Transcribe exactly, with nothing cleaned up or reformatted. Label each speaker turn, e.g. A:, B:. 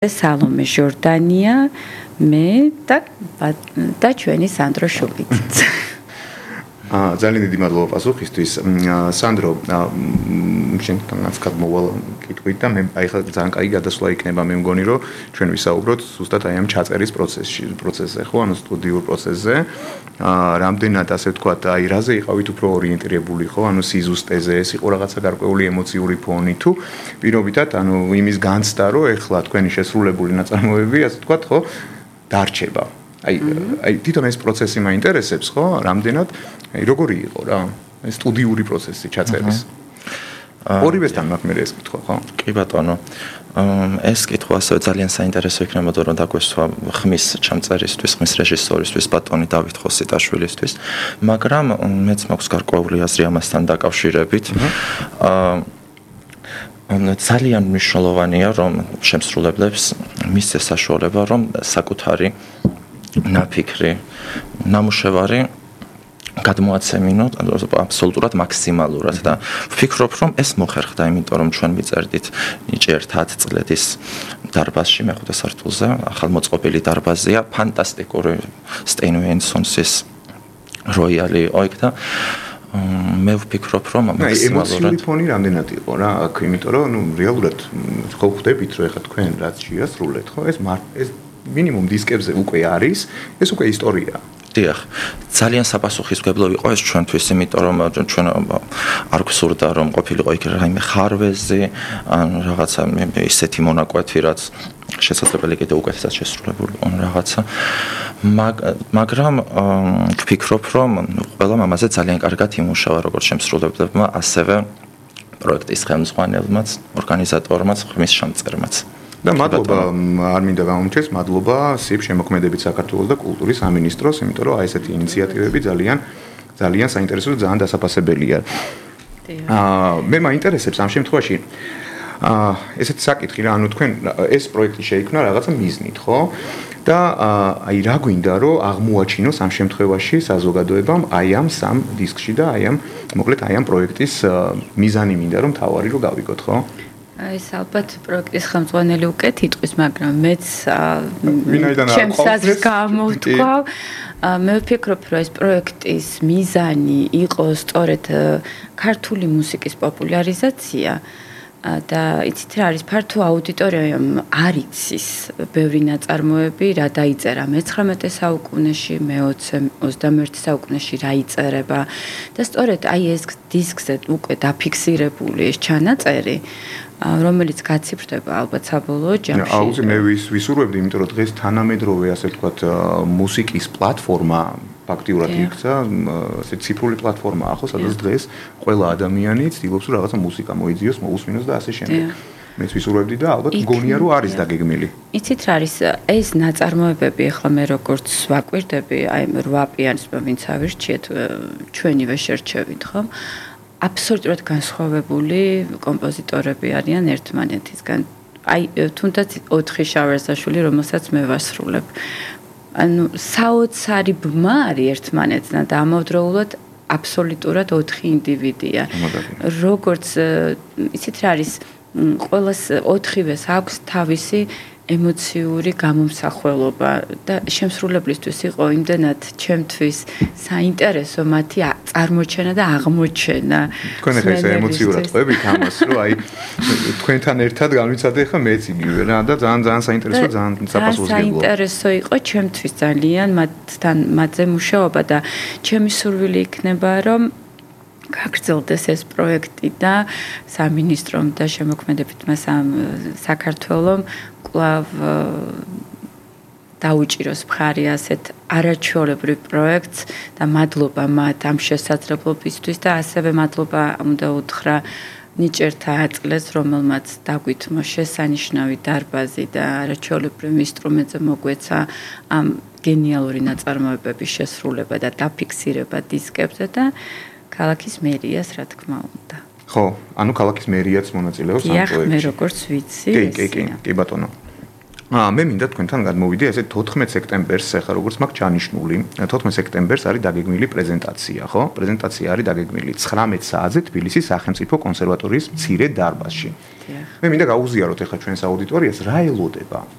A: სალომე ჟორდანია, მე და და ჩვენი სანდრო შუბიც.
B: აა ძალიან დიდი მადლობა პასუხისთვის. სანდრო, შენთანაც გადმოვალ კითხვით და მე აი ხა ძალიან კაი გადასვლა იქნება, მე მგონი რომ ჩვენ ვისაუბროთ ზუსტად აი ამ ჩაწერის პროცესში, პროცესზე, ხო, ანუ სტუდიურ პროცესზე. აა რამდენად ასე ვთქვათ, აი რაზე იყავით უფრო ორიენტირებული, ხო, ანუ სიზუსტეზე, ეს იყო რაღაცა გარკვეული ემოციური ფონი თუ პირობითად, ანუ იმის განცდა, რომ ეხლა თქვენი შესრულებული ნაწარმოებები, ასე ვთქვათ, ხო, დარჩება. აი აი თვითონ ეს პროცესი მაინტერესებს, ხო, რამდენად აი როგორი იყო რა ეს სტუდიური პროცესი ჩაწერის. ორივესთან მაქვს მე ეს კითხვა, ხო?
C: კი ბატონო. ეს კითხვა ასევე ძალიან საინტერესო იქნებოდა რომ დაგვესვა ხმის ჩამწერისთვის, ხმის რეჟისორისთვის, ბატონი დავით ხოსიტაშვილისთვის, მაგრამ მეც მაქვს გარკვეული აზრი ამასთან დაკავშირებით. აა ძალიან მნიშვნელოვანია რომ შემსრულებლებს მისცეს საშუალება რომ საკუთარი ნაფიქრი, ნამუშევარი გადმოაცემინოთ აბსოლუტურად მაქსიმალურად და ვფიქრობ რომ ეს მოხერხდა, იმიტომ რომ ჩვენ ვიწერდით ნიჭიერთ ათ წლედის დარბაზში, მეხუთე სართულზე, ახალმოწყობილი დარბაზია, ფანტასტიკური სტეინუენსონსის როიალი იყო იქ და მე ვფიქრობ რომ მაქსიმალურად
B: ემოციური ფონი რამდენად იყო რა აქ, იმიტომ რომ ნუ რეალურად ხო ხვდებით რომ ეხა თქვენ რაც შეასრულეთ, ხო, ეს ეს მინიმუმ დისკებზე უკვე არის, ეს უკვე ისტორია.
C: დიახ, ძალიან საპასუხისმგებლო იყო ეს ჩვენთვის, იმიტომ რომ ჩვენ არ გვსურდა რომ ყოფილიყო იქ რაიმე ხარვეზი, ან რაღაცა ისეთი მონაკვეთი, რაც შესაძლებელი კიდევ უკეთესად შესრულებული იყო რაღაცა. მაგრამ ვფიქრობ რომ ყველამ ამაზე ძალიან კარგად იმუშავა, როგორც შემსრულებლებმა, ასევე პროექტის ხელმძღვანელმაც, ორგანიზატორმაც, ხმის შემწერმაც. და მადლობა,
B: არ მინდა გამომჩეს, მადლობა სიებ შემოქმედებით საქართველოს და კულტურის სამინისტროს, იმიტომ რომ აი ესეთი ინიციატივები ძალიან ძალიან საინტერესო და ძალიან დასაფასებელია. აა მე მაინტერესებს ამ შემთხვევაში აა ესეთი საკითხი რა, ანუ თქვენ ეს პროექტი შეიქმნა რაღაცა მიზნით, ხო? და აი რა გვინდა რომ აღმოაჩინოს ამ შემთხვევაში საზოგადოებამ აი ამ სამ დისკში და აი ამ მოკლედ აი ამ პროექტის მიზანი მინდა რომ თავარი რომ გავიგოთ, ხო?
A: ეს ალბათ პროექტის ხელმძღვანელი უკეთ იტყვის, მაგრამ მეც
B: ჩემს
A: აზრს გამოვთქვავ. მე ვფიქრობ, რომ ეს პროექტის მიზანი იყო სწორედ ქართული მუსიკის პოპულარიზაცია და იცით რა არის, ფართო აუდიტორიამ არ იცის ბევრი ნაწარმოები, რა დაიწერა მეცხრამეტე საუკუნეში, მეოცე ოცდამეერთე საუკუნეში რა იწერება და სწორედ აი ეს დისკზე უკვე დაფიქსირებული ეს ჩანაწერი რომელიც გაციფრდება ალბათ საბოლოო ჯამში.
B: აუზი მე ვისურვებდი, იმიტომ რომ დღეს თანამედროვე ასე ვთქვათ მუსიკის პლატფორმა ფაქტიურად იქცა, ასე ციფრული პლატფორმაა ხო, სადაც დღეს ყველა ადამიანი ცდილობს რომ რაღაცა მუსიკა მოიძიოს, მოусმინოს და ასე შემდეგ. მეც ვისურვებდი და ალბათ მგონია რომ არის დაგეგმილი.
A: იცით რა არის, ეს ნაწარმოებები ახლა მე როგორც ვაკვირდები, აი რვა პიანისტმა ვინც ავირჩიეთ, ჩვენივე შერჩევით, ხო? აბსოლუტურად განსხვავებული კომპოზიტორები არიან ერთმანეთისგან. აი თუნდაც ოთხი შავერსაშვილი, რომელსაც მე ვასრულებ. ანუ საოცარი ბმა არის ერთმანეთთან და ამავდროულად აბსოლუტურად ოთხი ინდივიდია. როგორც იცით რა არის, ყველას ოთხივეს აქვს თავისი ემოციური გამომსახველობა და შემსრულებლისთვის იყო იმდენად ჩემთვის საინტერესო მათი წარმოჩენა და აღმოჩენა.
B: თქვენ ახლა ეს ემოციურად ყვებით ამას, რომ აი თქვენთან ერთად განვიცადე ხა მეც იგივე რა და ძალიან ძალიან საინტერესო, ძალიან საპასუხისმგებლო.
A: საინტერესო იყო ჩემთვის ძალიან მათთან მათზე მუშაობა და ჩემი სურვილი იქნება რომ გაგრძელდეს ეს პროექტი და სამინისტრომ და შემოქმედებით მას ამ საქართველოს კვლავ დაუჭიროს მხარი ასეთ არაჩვეულებრივ პროექტს და მადლობა მათ ამ შესაძლებლობისთვის და ასევე მადლობა უნდა უთხრა ნიჭიერთ ათ წლეს, რომელმაც დაგვითმო შესანიშნავი დარბაზი და არაჩვეულებრივ ინსტრუმენტზე მოგვეცა ამ გენიალური ნაწარმოებების შესრულება და დაფიქსირება დისკებზე და ქალაქის მერიას რა თქმა უნდა.
B: ხო, ანუ ქალაქის მერიაც მონაწილეობს ამ პროექტში.
A: დიახ, მე როგორც ვიცი.
B: კი, კი, კი, კი ბატონო. აა მე მინდა თქვენთან გადმოვიდე ესე თოთხმეტ სექტემბერს, ახლა როგორც მაქვს ჩანიშნული, თოთხმეტ სექტემბერს არის დაგეგმილი პრეზენტაცია, ხო? პრეზენტაცია არის დაგეგმილი ცხრამეტ საათზე თბილისის სახელმწიფო კონსერვატორიის მცირე დარბაზში. მე მინდა გაუზიაროთ ახლა ჩვენს აუდიტორიას, რა ელოდება